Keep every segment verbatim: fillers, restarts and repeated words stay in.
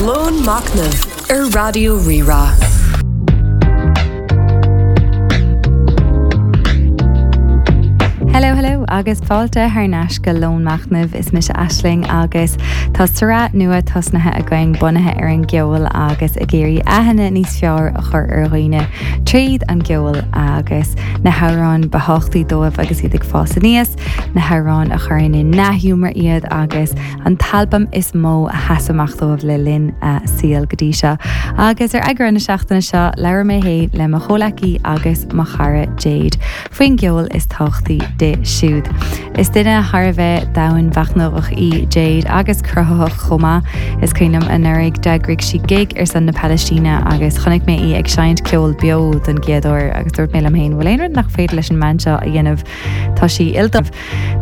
Lón Machnaimh ar Raidió Rí-Rá. Hello hello agus fáilte thar n-ais go Lón Machnaimh is mise Aisling agus tá sraith nua tosnaithe againn bunaithe ar an gceol agus ag iarraidh aithne níos fearr a chur ar dhaoine tríd an gceol agus na hamhráin ba thábhachtaí dóibh agus iad ag fás aníos, na hamhráin a chuireann i ndea-ghiúmar iad agus an t-albam is mó a sheas amach dóibh le linn a saoil go dtí seo. Agus ar eagrán na seachtaine seo labhair mé féin le mo chomhleacaí agus mo chara Jade faoin gceol is tábhachtaí di siúd. Is duine thar a bheith domhainmhachnamhach í Jade agus cruthaitheach chomh maith. Is cuimhin liom anuraidh d'eagraigh sí gig ar son na Palaistíne agus chonaic mé í ag seinnt ceol beo don gcéad uair agus dúirt mé liom féin bhfuil aon rud nach féidir leis an mbean seo a dhéanamh Tá sí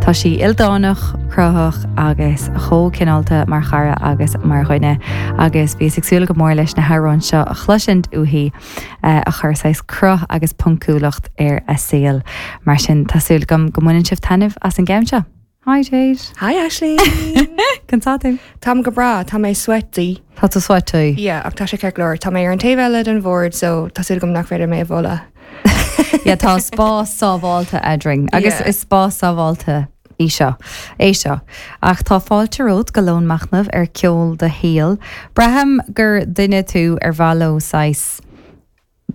Tá sí ildánach, cruthaitheach agus chomh cineálta mar chara agus mar dhuine agus bhíos ag súil go mór leis na hamhráin seo a chloisint uaithi eh, a chuir saghas cruth agus poncúlacht ar a saol. Mar sin tá súil agam go mbaineann sibh taitneamh as an gceann seo. Hi Jade. Hi Ashley. Conas tá tú? Táim go breá, tá mé sweaty. Tá tú sweaty. Yeah, ach tá sé ceart go leor. Tá mé ar an taobh eile den bhord, so tá súil agam nach féidir mé a bhualadh. Ja tá spás sábháilte eadrainn agus Yeah. is spás sábháilte í seo é seo. Ach tá fáilte romhat go Lón Machnaimh ar ceol do shaoil. Braithim gur duine tú ar mhaith leo saghas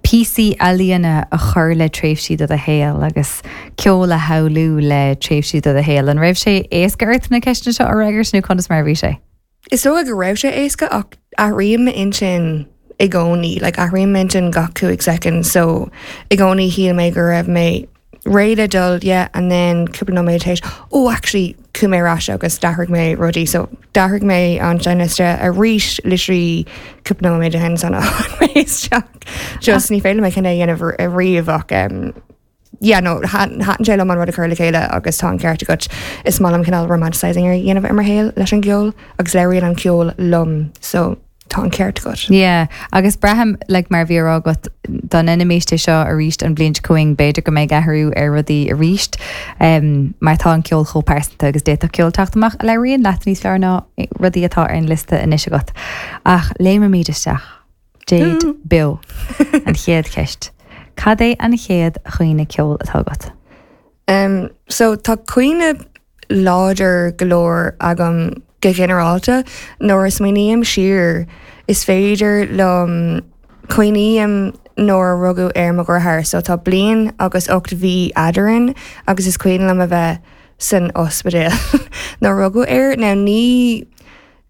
píosaí ealaíne a chur le tréimhsí de do shaol agus ceol a shamhlú le tréimhsí de do shaol. An raibh sé éasca ort na ceisteanna seo a fhreagairt nó conas mar a bhí sé? Is dócha go raibh sé éasca ach athraím m'intinn i gcónaí, like athraím m'intinn gach cúig second, so i gcónaí shíl mé go raibh mé réidh le dul, yeah, and then cúpla nóiméad tar éis, oh actually chuaigh mé ar ais agus d'athraigh mé rudaí, so d'athraigh mé an seinnliosta arís literally cúpla nóiméad ó shin san mé isteach. Just ní féidir mé cinneadh a dhéanamh riamh ach um, yeah, no, thaitin sé liom an rud a chur le chéile agus tá an ceart agat is maith liom cineál romanticizing a dhéanamh ar mo shaol leis an gceol agus labhraíonn an ceol liom, so tá an ceart agat. Yeah, agus braithim like, mar bhí rá agat dá ndéanfaimis é seo arís an bhliain seo chugainn b'fhéidir go mbeidh athrú ar rudaí arís um, mar tá an ceol chomh pearsanta agus d'fhéadfadh ceol teacht amach a labhraíonn leat níos fearr ná rudaí atá ar an liosta anois agat. Ach léimimid isteach. Jade Beo an chéad cheist. Cad é an chéad chuimhne ceoil atá agat? Um, so tá cuimhne láidir go leor agam go ginearálta nuair a smaoiním siar is féidir liom cuimhním nuair a rugadh ar mo dheartháir, so tá bliain agus ocht mhí eadrainn agus is cuimhin liom a bheith san ospidéal nuair a rugadh air now ní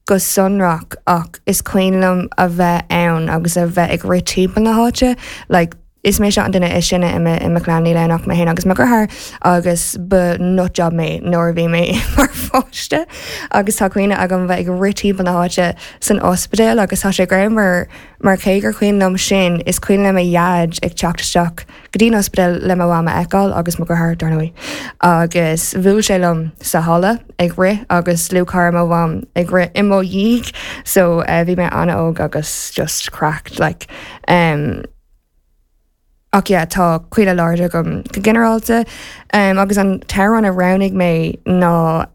go sonrach ach is cuimhin liom a bheith ann agus a bheith ag rith timpeall na háite, like is mé an duine is sine i mo chlann níl ann ach mé féin agus mo dheartháir agus ba nut job mé nuair a bhí mé mar pháiste agus tá cuimhne agam bheith ag rith timpeall na háite san ospidéal agus tá sé greannmhar mar cé gur cuimhin liom sin is cuimhin liom mo dhaid ag teacht isteach go dtí an ospidéal le mo mham a fheiceáil agus mo dheartháir dar ndóigh. agus bhuail sé liom sa halla ag rith agus dlúthchara mo mham ag rith i mo dhiaidh so uh, bhí mé an-óg agus just cracked like um, Ach yeah, tá cuimhne láidir agam go ginearálta um, agus an t-amhrán a roghnaigh mé ná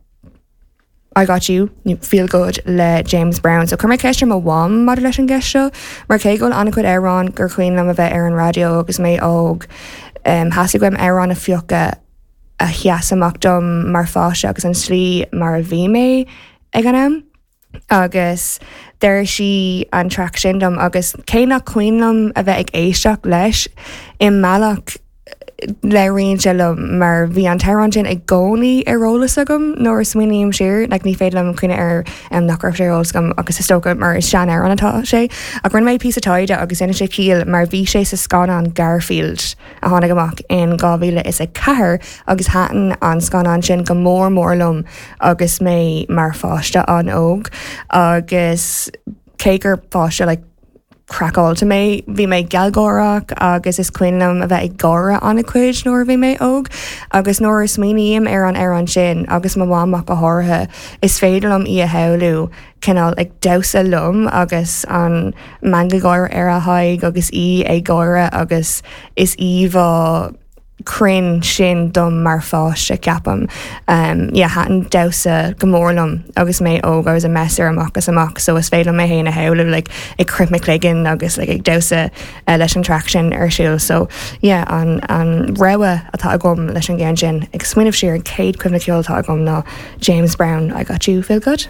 I got you feel good le James Brown. So chuir mé ceist ar mo mham maidir leis an gceist seo, mar cé go bhfuil an-chuid amhrán gur cuimhin liom a bheith ar an raidió agus mé óg um, theastaigh uaim amhrán a phiocadh a sheas amach dom mar pháiste agus an slí mar a bhí mé ag an am. agus deir sí an track sin dom agus cé nach cuimhin liom a bheith ag éisteacht leis i mbealach labhraíonn sé liom mar bhí an t-amhrán sin i gcónaí ar eolas agam nuair a smaoiním siar like ní féidir liom cuimhneamh ar um, nach raibh sé ar eolas agam agus is dócha mar is sean-amhrán atá sé ach rinne mé píosa taighde agus inis sé ciall mar bhí sé sa scannán Garfield a tháinig amach in dhá mhíle is a ceathair agus thaitin an scannán sin go mór mór liom agus mé mar pháiste an-óg agus cé gur páiste like, craiceáilte mé bhí mé gealgháireach agus is cuimhin liom a bheith ag gáire an-chuid nuair a bhí mé óg agus nuair a smaoiním ar an amhrán sin agus mo mham go háirithe is féidir liom í a shamhlú cineál ag damhsa liom agus an meangadh gáire ar a haghaidh agus í ag gáire agus is íomhá cruinn sin dom mar pháiste ceapaim. Um, yeah, thaitin damhsa go mór liom agus mé óg agus a messer amach is amach, so is féidir mé féin a shamhlú like, ag croitheadh mo chloigeann agus like, ag damhsa uh, leis an track sin ar siúl so yeah, an, an rogha atá agam leis an gceann sin ag smaoineamh siar an chéad chuimhne ceoil atá agam ná James Brown I Got You Feel Good.